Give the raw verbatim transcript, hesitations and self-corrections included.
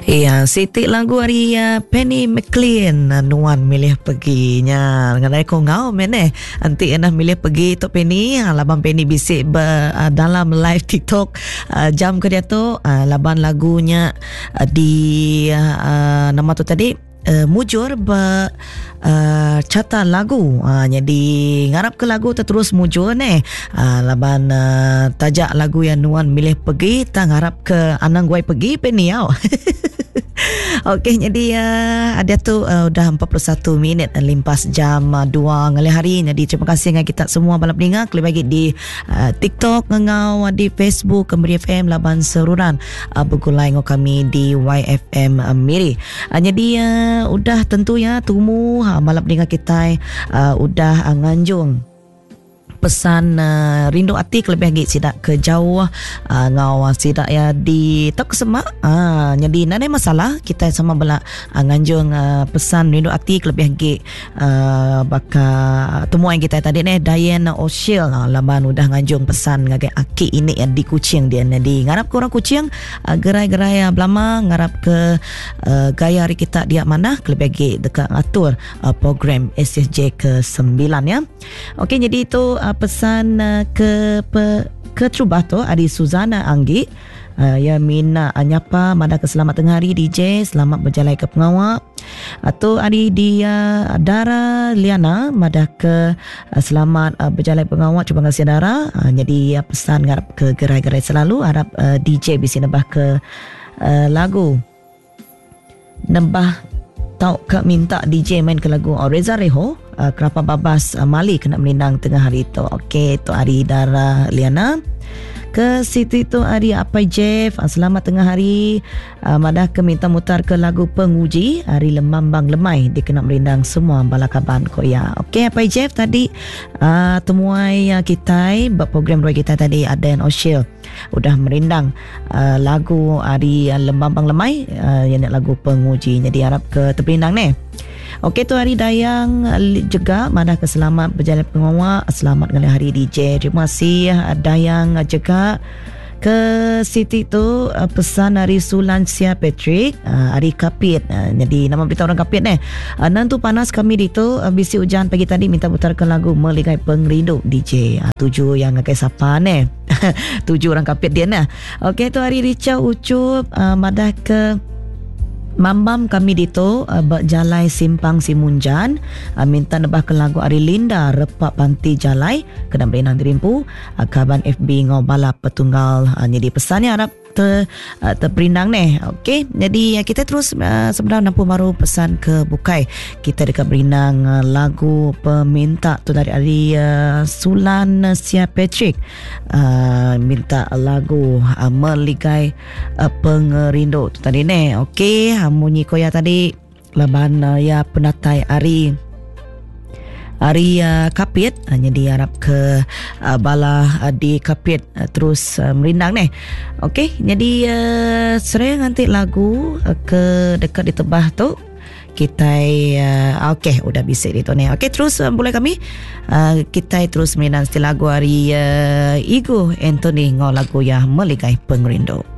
Iya, siti lagu ari uh, Penny McLean uh, nuan milih pergi nya. Ngadai ko ngau men eh. Enti ena milih pergi tu Penny, uh, laban Penny bisi be, uh, dalam live TikTok uh, jam ke dia tu uh, laban lagunya uh, di uh, nama tu tadi uh, mujur be uh, carta lagu. Uh, jadi ngarap ke lagu tu terus mujur ne. Uh, laban uh, tajak lagu yang nuan milih pergi tak ngarap ke anang guai pergi Penny au. Okey, jadi uh, ada tu uh, udah empat puluh satu minit uh, limpas jam uh, dua ngalih hari. Jadi terima kasih dengan kita semua bala peninga kelebih lagi di uh, TikTok ngau di Facebook Miri F M laban seruran uh, bergulai ngau kami di Y F M uh, Miri. Uh, jadi uh, udah tentu ya tumu uh, bala peninga kita uh, udah uh, nganjung pesan uh, rindu ati kelebih lagi sidak ke jauh uh, ngau sidak ya di tok semak. Ah uh, jadi nadai masalah kita sama bela uh, nganjung uh, pesan rindu ati kelebih lagi uh, baka temuan kita tadi ni Diana Oshil uh, laban udah nganjung pesan ngagai aki ini yang di Kuching dia. Jadi ngarap ke orang Kuching uh, gerai-gerai uh, belama ngarap ke uh, gaya hari kita dia mana kelebih lagi dekat atur uh, program S S J ke sembilan ya. Okey, jadi itu uh, pesan uh, ke pe, ke terubah tu ari Suzana Anggi uh, ya mina anyapa mada ke selamat tengah hari D J, selamat berjalan ke pengawak. Atau ari dia Dara Liana mada ke uh, selamat uh, berjalan pengawak, cuba ngasih Dara. Uh, jadi uh, pesan ngarap ke gerai-gerai selalu harap uh, D J bisa nembah ke uh, lagu nembah tau ke minta D J main ke lagu Reza Reho uh, Kerapa Babas uh, Mali kena melindang tengah hari tu. Okey, tu hari Dara Liana. Ke situ tu hari Apai Jeff, selamat tengah hari. Uh, madah ke minta mutar ke lagu Penguji hari Lemambang Lemai dikena merindang semua bala kaban ko ya. Okey Apai Jeff tadi uh, temuai uh, kita buat program roy kita tadi Aden Oshil udah merindang uh, lagu hari uh, Lemambang Lemai uh, yang lagu Penguji. Jadi harap ke terperindang ni. Okey tu hari Dayang juga madah ke selamat berjalan pengawak, selamat ngalih hari D J. Terima kasih Dayang juga. Ke Siti tu pesan hari Sulan Sia Patrick hari Kapit. Jadi nama berita orang Kapit ni. Nantu panas kami di tu bisi hujan pagi tadi minta putarkan lagu Meligai Pengrindu D J. Tuju yang ngakai sapa ni. Tuju orang Kapit dia nah. Okey tu hari Richard Ucup madah ke Mambam kami dito uh, berjalai simpang Simunjan uh, minta nebah ke lagu Ari Linda Repak Panti Jalai kena berinang dirimpu uh, kaban F B ngau bala petunggal uh, jadi pesannya harap ter, uh, terperindang ni. Okey, jadi uh, kita terus uh, sebenarnya nampu baru pesan ke bukai. Kita dekat berinang uh, lagu peminta tu dari Ari uh, Sulan Sia Patrick uh, minta lagu uh, Meligai uh, Pengerindu tu tadi ni. Okey, munyi koya tadi laban uh, ya penatai Ari Ari uh, Kapit hanya uh, diharap ke uh, bala uh, di Kapit uh, terus uh, merindang ni. Okey, jadi uh, seraya nanti lagu uh, ke dekat di tebah tu kita uh, okey udah bisik di tu ni. Okey terus uh, boleh kami uh, kita terus merindang setiap lagu Ari uh, Igo Anthony ngau lagu ya Meligai Pengerindu.